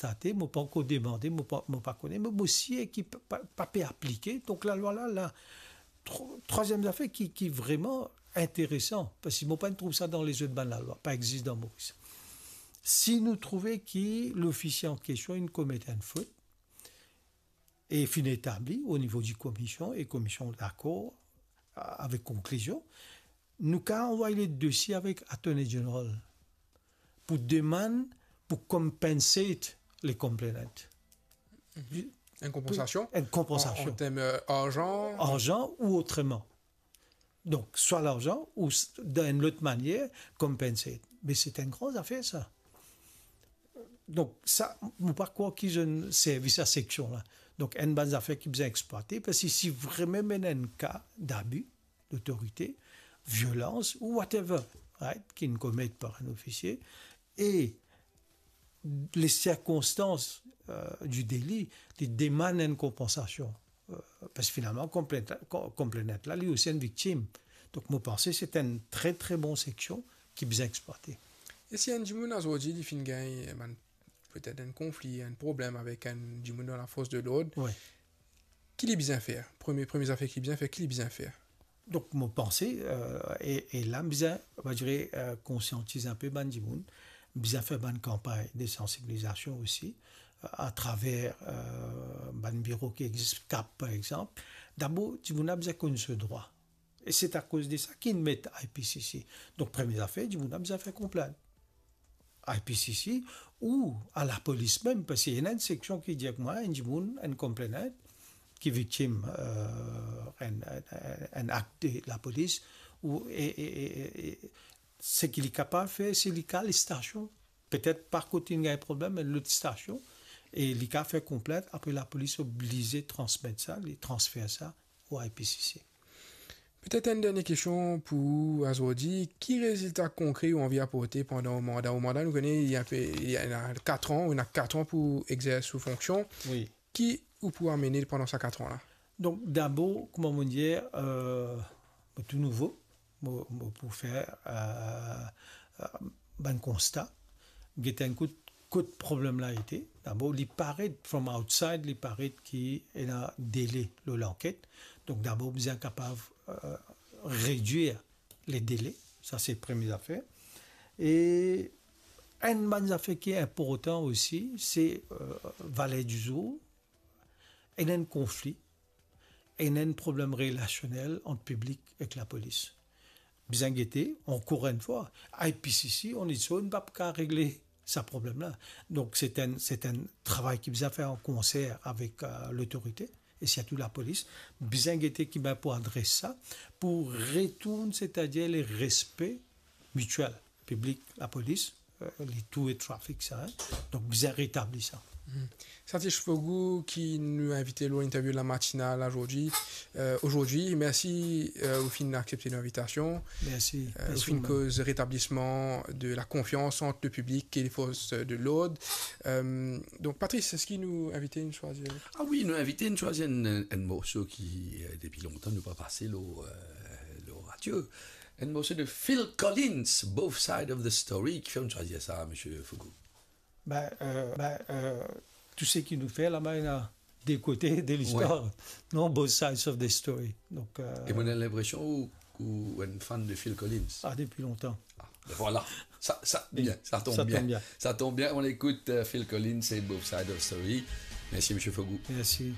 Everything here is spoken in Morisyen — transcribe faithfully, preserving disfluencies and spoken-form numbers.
konstate, mo pa ankor demande, mo pa, mo pa kone, me mo sir ki pa, pa, pa pe aplike. Donk lalwa la, la, tro-, trwaziem zafer ki, ki vreman interesan, parski mo pa'nn trouv sa dan lezot bann lalwa, pa existe dan Moris. Si nou trouve ki lofisie an kestion inn komet enn fot, e finn etabli o nivo di komisyon, e komisyon dakor, a-, avek konklizion, nou kav anvway le dosie avek Attorney General pou demann pou compensate le complainant. Mhm. Enn konpansasion? Enn konpansasion. An, an term, euh, arzan? Arzan ou otreman. Donk, swa larzan ou s-, dan enn lot manier, compensate. Me se enn gran zafer, sa. Donk, sa, mo pa krwar ki zot inn servi sa seksion la. Donk, enn bann zafer ki bizin eksplwate, parski si, si vreman ena enn ka dabi dotorite, violans ou whatever, right, ki'nn komet par enn ofisie, e le sirkonstans, euh, di deli, li demann enn konpansasion. Euh, parski finalman, konplent-, ko-, konplenant la, li osi enn viktim. Donk, mo panse se enn tre, tre bon seksion ki bizin eksplwate. E si enn dimoun azordi, li finn gagn, eh, bann, petet enn konfli, enn problem avek enn dimoun dan lafors de lord, wi, ki li bizin fer? Premie, premie zafer ki li bizin fer, ki li bizin fer? Donk, mo panse, euh, e, e la, bizin, on va dire, euh, konsiantiz enpe bann dimoun, bizin fer bann kanpagn de sansibilizasion osi, euh, atraver, euh, bann biro ki existe, kap, par exanp. Dabor, dimoun la bizin konn so drwa. E se akoz de sa ki'nn met I P C C. Donk, premie zafer, dimoun la bizin fer konplint. I P C C ou a lapolis mem, parski ena enn seksion ki dir mwa, enn dimoun, enn konplenant, ki viktim, euh, enn, enn, enn, enn akt de lapolis, ou, e, e, e, e, e, seki li kapav fer, se li kav al stasion. Petet pa kot inn gagn problem, me lot stasion, e li kav fer konplint, apre lapolis oblize transmet sa, li transfer sa o I P C C. Petet enn dernie kestion pou ou azordi, ki rezilta konkre ou anvi aporte pandan ou manda? Ou manda, nou kone, li enpe, li ena kat an, ou ena kat an pou exers ou fonksion. Wi. Ki ou pou amene pandan sa kat an la? Donk, dabor, kouma mo dir, euh, mo tou nouvo, mo, mo pou fer, euh, euh, bann konsta, get enn kout kot problem la ete. Dabor, li paret, from outside, li paret ki ena dele lor lanket. Donk, dabor, bizin kapav, euh, redwir le dele. Sa, se premie zafer. E enn bann zafer ki inportan osi, se, euh, valer di zour, ena enn konfli, ena enn problem relasionel ant piblik ek lapolis. Bizin gete, ankor enn fwa, I P C C, on its own, pa pou kav regle sa problem la. Donk, se enn, se enn travay ki bizin fer an konser avek, euh, lotorite, e sirtou lapolis. Bizin gete ki bann pou adres sa, pou retourn, setadir le respe mitiel, piblik, lapolis, euh, li tou e trafik sa, hein. Donk, bizin retabli sa. Mhm. Satish Fogou, ki nou invite lor interview La Matinale azordi. Euh, azordi, mersi, euh, ou finn aksepte linvitasion. Mersi. Euh, ou finn koz retablisman de la konfians ant le piblik e le fors de lord. Euh, donk, Patrice, eski nou invite inn swazir? Ah wi, nou invite inn swazir enn, enn morso ki, euh, depi lontan nou pa pase lor, euh, lor radio. Enn morso de Phil Collins, Both Side of the Story, ki fer nou swazir sa, misie Fogou? Ben, euh, ben, euh, tou seki nou fer laba, ena de kote de listwar. Wi. Non, Both Sides of the Story. Donk, euh, e mo ena linpresion ou, ou enn fan de Phil Collins. Ah, depi lontan. Ah, ben vwala. Sa, sa, bien, sa tonm bien. Sa tonm bien. Sa tonm bien. On écoute, euh, Phil Collins et Both Sides of the Story. Mersi, misie Fogou. Mersi.